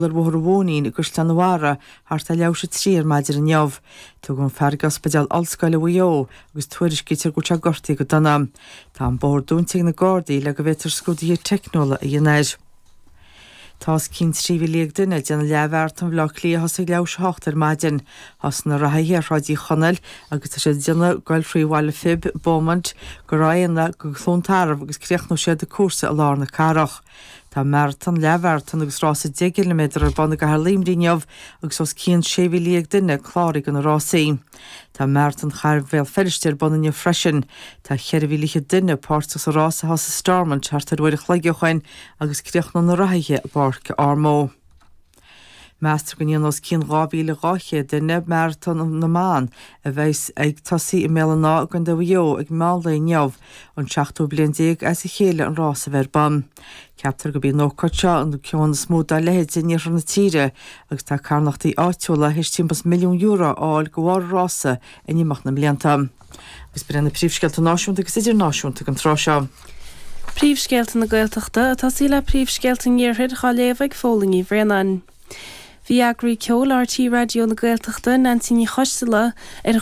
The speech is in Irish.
Ar Bhóthar an Mhóinín i gCaisleán an Bharraigh thart ar leathuair tar éis a 3 ar maidin inniu. Tugadh an fear go Ospidéal Ollscoile Mhaigh Eo agus tuairiscítear go bhfuil sé gortaithe go dona. Tá an bóthar dúnta ag na Gardaí le go bhféadfar scrúduithe teicniúla a dhéanamh air. Tá os cionn 13,000 duine ag déanamh leathmharatón Bhaile Átha Cliath a thosaigh ag leathuair tar éis a 8 ar maidin. Thosaigh na reathaithe ar Shráid Uí Chonaill agus tá siad ag déanamh goil thrí Bhaile Phib, Beaumont, go Ráth Éanna, go Cluain Tarbh agus críochnóidh siad an cúrsa i lár na cathrach. Tá maratón, leathmharatón agus rása 10 gciliméadar ar bun i gcathair Luimnigh inniu agus os cionn 16,000 duine cláraithe do na rásaí. Tá Maratón Chathair Bhéal Feirste ar bun inniu freisin. Tá 4,000 duine páirteach sa rás a thosaigh i Stormont thart ar uair a chloig ó shoin agus críochnóidh na reathaithe i bPáirc Ormeau. Meastar go ndéanfaidh os cionn 2,200 duine Maratón na mBan a bheas ag tosaí i mBéal an Átha i gContae Mhaigh Eo ag meán lae inniu, an seachtú bliain déag as a chéile an rás a bheith ar bun. Ceaptar gurb í an ócáid seo an ceann is mó dá leithéid in iarthar na tíre agus tá carthanachtaí áitiúla théis timpeall is €1 milliún a fháil de bharr an rása in imeacht na mblianta. Agus b'in iad na príomhscéalta náisiúnta agus idirnáisiúnta don tráth seo. Príomhscéalta na Gaeltachta, ag tosaí le príomhscéalta an Iarthair, á léamh ag Fódhla Ní Bhraonáin. Bhí eagraí ceoil RTÉ Raidió na Gaeltachta, Neansaí Ní Choisdealbha, ar.